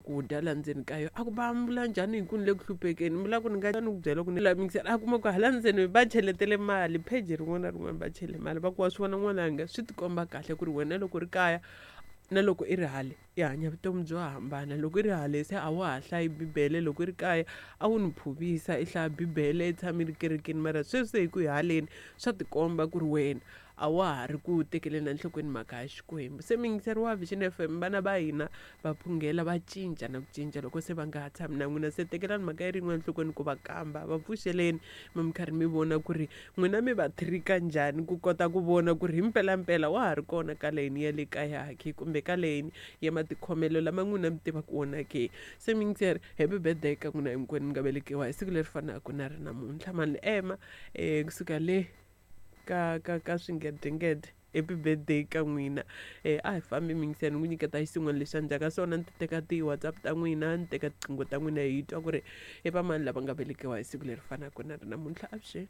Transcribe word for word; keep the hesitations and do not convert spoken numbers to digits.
swakudya la ndzeni ka yona. A ku va vula njhani hi ku ni le ku hluphekeni, mi vula ku ni nga ni ku byela ku ni la mixer. A kuma ku hala ndzeni va cheletele mali, pheji rin'wana na rin'wana va chele mali. Va ku wa swi vona n'wananga, swi tikomba kahle ku ri wena loko ri kaya na loko i ri hale i hanya vutomi byo hambana. Loko i ri hale se a wa ha hlayi bibele, loko i ri kaya a wu ni phuvisa i hlaya bibele, i tshama i ri kerekeni, mara sweswi se hi ku hi haleni swa tikomba ku ri wena a wa ha ri ku tekeleni enhlokweni mhaka ya Xikwembu. Se muyingiseri wa Vision F M, vana va hina va phungela, va cinca na ku cinca loko se va nga ha tshami na n'wina. Se tekelani mhaka yi ri yin'we enhlokweni ku va kamba, va pfuxeleni mi mi karhi mi vona ku ri n'wina mi va trika njhani ku kota ku vona ku ri hi mpelampela wa ha ri kona ka layeni ya le kaya ke kumbe ka layeni ya matikhomelo lama n'wina mi tivaka wona ke. Se muyingiseri, happy birthday ka n'wina hinkwenu mi nga velekiwa hi siku leri fanaka na ri namuntlha. Mani ema um kusuka le ka ka ka swingedengede, happy birthday ka n'wina. Eh a hi fambi mingiseni n'wi nyiketa xin'wana lexi a ka swona, ni ti teka ti-WhatsApp ta n'wina, ni teka tiqingho ta n'wina, hi twa ku ri i vamani lava nga velekiwa hi siku leri fanaka na ri namuntlha. Avuxeni.